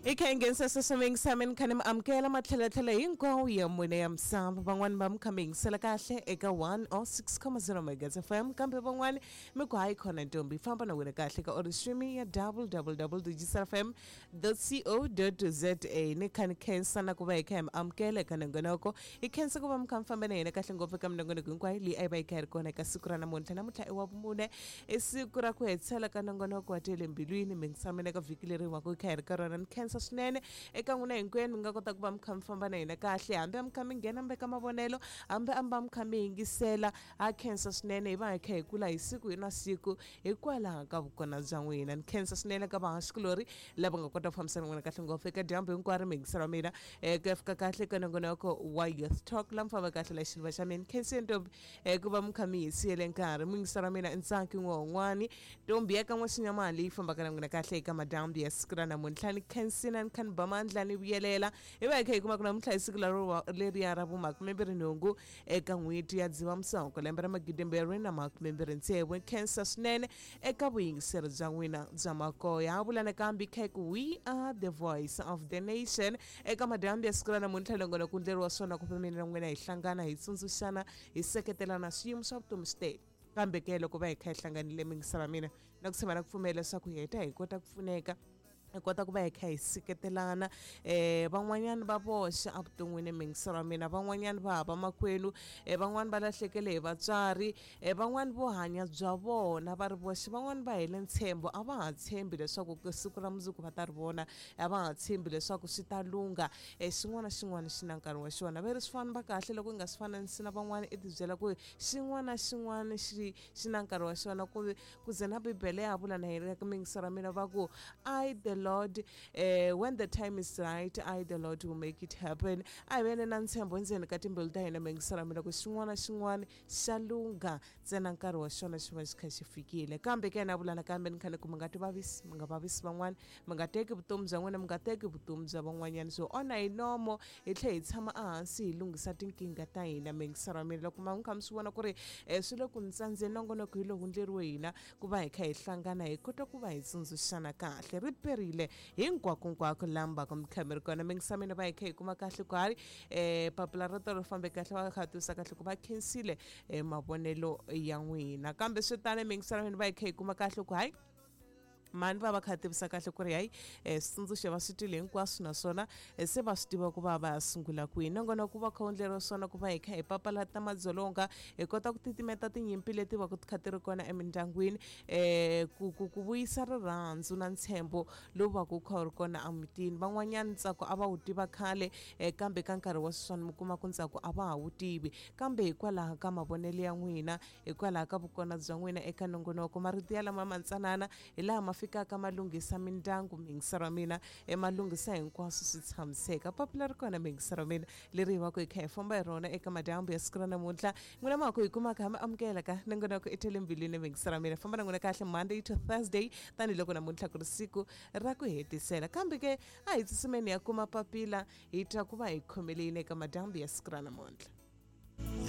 Hi kha hi nghenisa sweswo mi kha ni mi amukela matlhelatlhela hinkwawo ya mune ya misava. Van'wani va mi kha mi yingisela kahle eka 106.0 Megahertz FM, kambe van'wani mi ku hayi khona ntombi famba na wena kahle ka ori streaming ya www.fm.co.za. Ni kha ni khensa na ku va hi kha hi mi amukela eka nongonoko. Hi khensa ku va mi kha mi famba na hina kahle ngopfu eka minongonoko hinkwayo leyi a yi va yi kha yi ri kona eka siku ra namuntlha. Namuntlha i wa vumune, i siku ra ku hetisela ka nongonoko wa Tele Mbilwini. Mi ngisama eka vhiki leri hi va ku hi kha hi ri ka rona. Ni khensa swinene eka n'wina hinkwenu mi nga kota ku va mi kha mi famba na hina kahle, hambi a mi kha mi nghena mi veka mavonelo, hambi a mi va mi kha mi yingisela. Ha khensa swinene, hi va hi kha hi kula hi siku hi na siku hikwalaho ka vukona bya n'wina. Ni khensa swinene ka vahaxikulori lava nga kota ku fambisana n'wina kahle ngopfu eka dyambu hinkwaro. Mi yingisela wa mina ku ya fika kahle ka nongonoko wa Youth Talk la mi famba kahle la xiluva xa mina. Khensile ntombi ku va mi kha mi hi siyele nkarhi. Mi yingisela wa mina i Ntsaki n'wahon'wani, ntombi ya ka n'waxinyamani leyi fambaka na n'wina kahle eka madyambu ya siku ra namuntlha. Ni khensile, ni kha ni ba mandla ni vuyelela hi va hi kha hi kuma ku namuntlha hi siku leriya ra vu28 eka n'hweti ya Dzivamisoko lembe ra 2026. Khensa swinene eka vuyingiseri bya n'wina bya makoya. Ha vula nakambe kha ku we are the voice of the nation. Eka madyambu ya siku ra namuntlha nongonoko ku ndleriwa swona ku mina na n'wina hi hlangana, hi tsundzuxana, hi seketelana. Swiyimo swa vutomi swi tele, kambe ke loko va hi kha hi hlanganile mingisela mina na ku tshemba na ku pfumela leswaku hi heta hi kota ku pfuneka, hi kota ku va hi kha hi seketelana. Van'wanyana va voxe evuton'wini mingiselo wa mina, van'wanyana va hava makwenu, van'wani va lahlekele hi vatswari, van'wani vo hanya bya vona va ri voxe, van'wani va hele ntshembo, a va ha tshembi leswaku siku ra mundzuku va ta ri vona, a va ha tshembi leswaku swi ta lungha. Xin'wana na xin'wana xi na nkarhi wa xona. Va ri swi famba kahle loko u nga swi fananisi na van'wana, i tibyela ku xin'wana na xin'wana xi na nkarhi wa xona. Ku ze na Bibele ya vula na yena ka mingiselo ra mina va ku I the Lord, when the time is right, I the Lord will make it happen. A hi vene na ntshembo endzeni ka timbilu ta hina mingiselo ra mina ku xin'wana na xin'wana xa lungha, ntsena nkarhi wa xona xi va xi kha xi fikile. Kambe ke na vula nakambe ni kha ni ku mi nga ti vavisi, mi nga vavisi van'wana, mi nga teki vutomi bya n'wina, mi nga teki vutomi bya van'wanyana. Swo onha hi nomo, hi tlhe hi tshama ehansi hi lunghisa tinkingha ta hina mingiselo ra mina. Loko ma kha mi swi vona ku ri swi le ku ntsandzeni nongonoko hi lowu ndleriwe hina ku va hi kha hi hlangana, hi kota ku va hi tsundzuxana kahle. Ri perile hinkwakonkwako laha mi kha mi ri kona mingisa mina va hi kha hi kuma kahle ku hayi papila ro tolo fambe kahle, va kha tivisa kahle ku va khensile mavonelo ya n'wina. Kambe swi tano mingiselo mina va hi kha hi kuma kahle ku hayi mani va va kha tivisa kahle ku ri hayi switsundzuxo va swi twile hinkwaswo, naswona se va swi tiva ku va va ya sungula kwihi. Nongonoko va kha wu ndleriwa swona ku va hi kha hi papalata madzolonga, hi kota ku titimeta tinyimpi leti va ku ti kha ti ri kona emindyangwini, ku vuyisa rirhandzu na ntshembo lowu va ku kha wu ri kona emutini. Van'wanyana ntsako a va wu tiva khale, kambe ka nkarhi wa sweswiwani mi kuma ku ntsako a va ha wu tivi, kambe hikwalaho ka mavonelo ya n'wina, hikwalaho ka vukona bya n'wina eka nongonoko, marito ya lama mantsanana hi laha ma fikaka ma lunghisa mindyangu mingiselo wa mina, ma lunghisa hinkwaswo swi tshamiseka. Papila ri kona mingiselo wa mina leri hi va ku hi kha hi famba hi rona eka madyambu ya siku ra namuntlha. N'wina ma ku hi kumaka ha mi amukela ka nongonoko i Tele Mbilwini mingiselo wa mina, famba na n'wina kahle Monday to Thursday, tanihiloko namuntlha ku ri siku ra ku hetisela. Kambe ke a hi tsutsumeni ya kuma papila hi twa ku va hi khomeleni eka madyambu ya siku ra namuntlha.